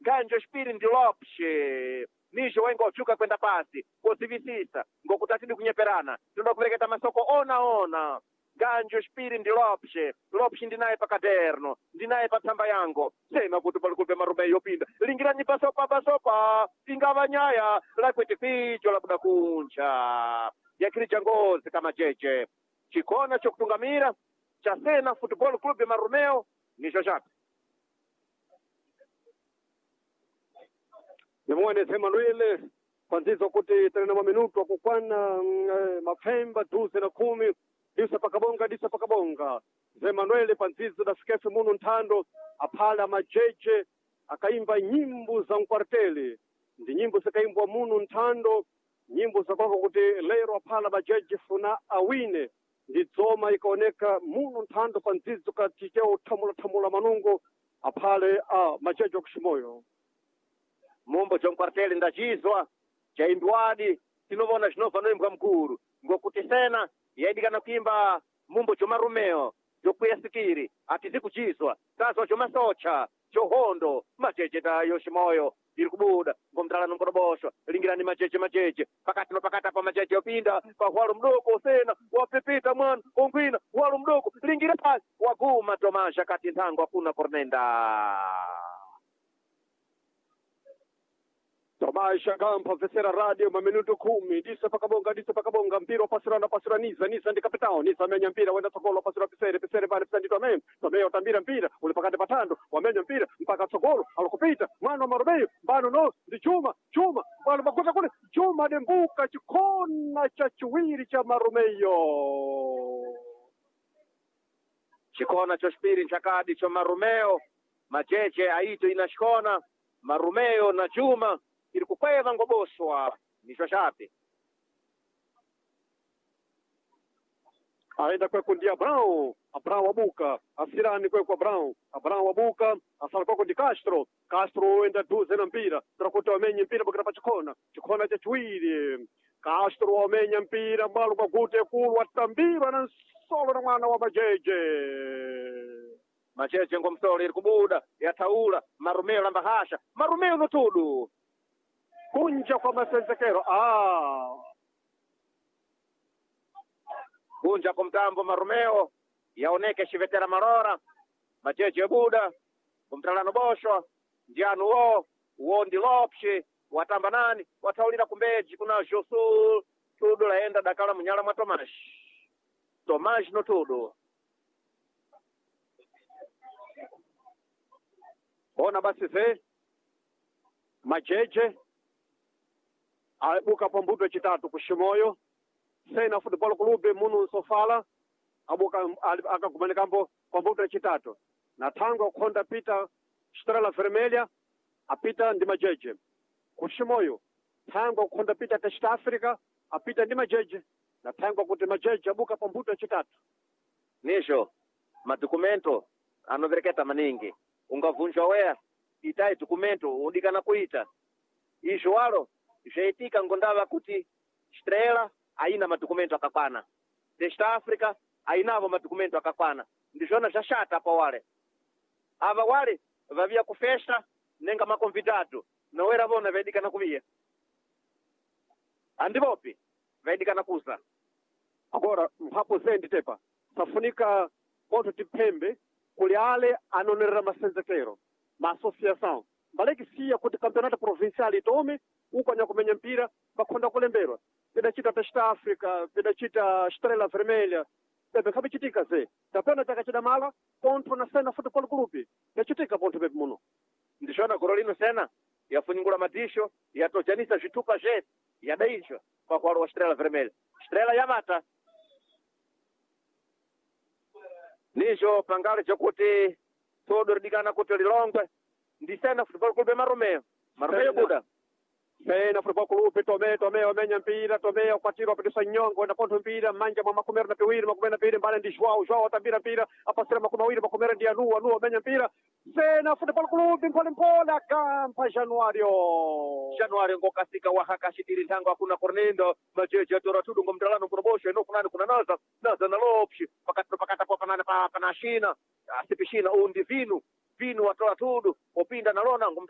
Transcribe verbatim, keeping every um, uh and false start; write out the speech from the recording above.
Ganjo xipiri ndi Lopes. Nijo wenga ochuka kwenda pasi kozivisisa ngokuti atidi kunyeperana tinoda kuvereketa masoko ona ona. Ganjo xipiri ndi Lopes. Lopes ndinaye pa caderno, ndinaye pa tsamba yango sema kuti palikupe marume yopinda lingiranyi pasopa pasopa ingava nyaya lakwete kwicho labuda kuncha yakhirija ngozi kamajeje chikona chokutungamira cha Sena Football Club Marumeo nicho chape. Nimuone Emanuele kwanzizo kuti tena maminuto akukwana mm, eh, mapfemba duze na kumi disa pakabonga disa pakabonga. Zemanuele panzizo dafikefe muno nthando aphala majeje akaimba nyimbo za mkwarteli ndi nyimbo zikaimbwa muno nthando nyimbo zakwako kuti lero aphala majeje funa awine ndi dzoma ikaoneka muno nthando panzizo katicheo thamula thamula manungo aphale a majeje okuximoyo. Mumbo jonquartele ndachizwa chaimbiwadi tinovona zvinobva noimbwa mukuru ngokuti Sena yaidikana kuimba mumbo jomarumeo jokwiya sikiri atizi kuchizwa tazwa jomasocha johondo majeje tayo ximoyo iri kubuda ngomtalano nkoroboshwa lingirani majeje majeje pakati no pakati apa majeje opinda pahwalo mdoko Sena wapepita mwana ongwina hwalo mdoko lingira pasi waguma Tomasha kati nthango akuna kornenda. Tomasha Gampa vesera radio maminuto kumi disa pakabonga disa pakabonga mpira wapasirana pasira niza niza ndi kapitao niza amenya mpira wenda tsogolo wapasira pisere pisere pale pisandi Tomeo Tomeo tambira mpira uli pakati patando wamenya mpira mpaka tsogolo alikupita mwana wa Maromeyo mbano no ndi chuma chuma mbano makuta kule chuma dembuka chikona cha chiwiri cha Maromeyo. Chikona choxipiri nchakadi cho Marumeo majeje aito inaxikona Marumeo na Juma iri kukweva ngoboswa nicho chape. Aenda kweko ndi Abrão, Abrão abuka, asirani kweko Abrão, Abrão abuka, asala kweko ndi Castro, Castro enda duze na mpira, trakuti wamenye mpira bukira pa chikona, chikona cha chiwiri, Castro wamenya mpira mbalo kwa gute kulu watambirwa na nsolo na mwana wa majeje. Majeje ngomsolo iri kubuda yathaula Marumeo lamba hasha Marumeo notudu Kunja kwa masenzekero ah. Kunja kwa mtambo Marumeo yaoneke xivetera marora majeje buda kumtalano boshwa ndianu wo wo ndi Lopes watamba nani wathaulira kumbeji kuna Josul tudu laenda dakala munyala mwa Tomash Tomash notudu. Ona basi ze majeje abuka pambuto chitatu kushimoyo Sena Football Club munu nsofala abuka akagumanikambo pambuto chitatu na thango akhonda pita Estrela Vermelha apita ndi majeje kushimoyo thango akhonda pita Test Africa apita ndi majeje na thango kuti majeje abuka pambuto chitatu. Nijo madokumento anovereketa maningi ungavunjwa weya itai dokumento udikana kuita izvo walo zvaitika ngondava kuti Estrela aina madokumento akakwana Test Africa ainavo madokumento akakwana ndizvona zvashata pa wale ava wale vaviya kufesta nenga maconvidado nowera vona vaidikana kuviya andivopi vaidikana kuza. Agora mphapo zendi tepa safunika ponto tiphembe kuli ale anonerera masenzekero ma associação mbaleki siya kuti campeonato provincial itome uko anyakumenya mpira bakhonda kulemberwa pidacita Test Africa pidacita Estrela Vermelha pepe nkhapichitika ze tapena chakachidamala pontho na Sena Football Club yachitika pontho pepe muno. Ndizvona goro lino Sena yafunyungula madisho yatojanisa zvitupa zvese yadaizva pakuwalo wa Estrela Vermelha Estrela yavata nijo pangale chokuti todo ridikana kuti lilongwe ndi Sena Football Club Marumeo Marumeo buda Sena Football Club Tomé Tomé wamenya mpira Tomé ukwatira wapitisa nyongo na pontho mpira manja mwa makumi na piwiri makumi na piwiri mbale ndi Joao Joao atambira mpira apasira makumi awiri makumi ndi Anu Anu wamenya mpira Sena Football Club mpole mpole akampa Januario Januario ngokasika wahakashitiri nthango akuna kornendo majeje atora tudu ngomtalano kurobosho eno kunani kuna naza naza na Lopes pakati pakati apo panani pa pana shina asipishina undi vinu vinu watola tudu opinda nalona